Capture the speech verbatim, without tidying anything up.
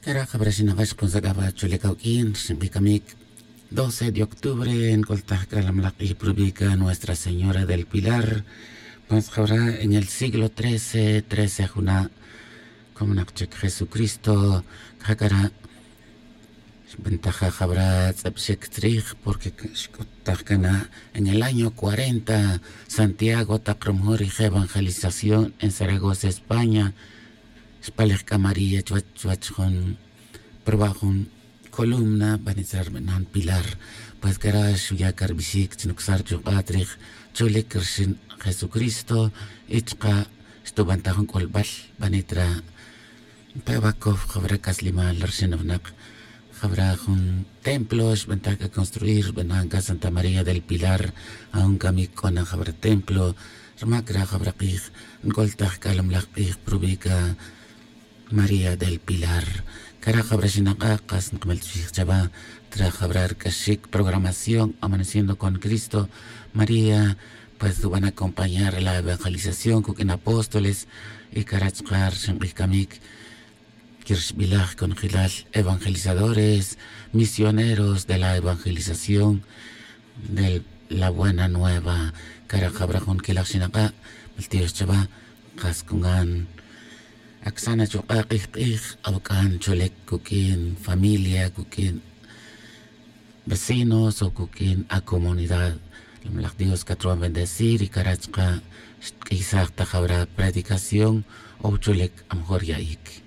Cara' jabra xinak'a xkunsac'a va chule' cawq'uin rxin k'ij camic. Doce de octubre nc'ultaj c'a la malaj k'ij prubica nuestra señora del pilar. Pues jabra en el siglo trece trece juna' comonak chic jesucristo. C'a cara' xbantaja jabra tz'eb xic tzrij porque xc'utaj cana' en el año cuarenta santiago tak rumujun rij evangelización en zaragoza españa. Xpalej c'a maría chuwech chuwech jun pruba' jun columna banit ra' rbanan pilar. Pues cara' xuya' ca rbixic chi nucsa' rchuk'a' trij cholic rxin jesucristo y chuka' xtuban ta jun c'ulbal banit ra'. Npe' va cof jabra c'aslimal rxin winak jabra jun templo xbantaj c'a construir rbanan c'a santa maría del pilar. Aun camic c'o na jabra templo rmac ra jabra k'ij nc'ultaj c'a la malaj k'ij prubica maría del pilar. Cara' jabra xinak'a' kas nkmeltzij chava tra jabra rc'axic programación amaneciendo con cristo. María pues ruban acompañar la evangelización cuq'uin apóstoles y cara' chuka' rxin k'ij camic quirxbilaj conjelal evangelizadores misioneros de la evangelización de la buena nueva. Cara' jabra jun quelaj xinak'a' maltiox chava. Kas cungan acsan achuk'a' k'ij k'ij awac'an cholic cuq'uin familia cuq'uin vecinos o cuq'uin acomunidad. La malaj dios catruban bendecir y cara' chuka' xtk'isaj ta jabra predicación o cholic amejor ya'ic.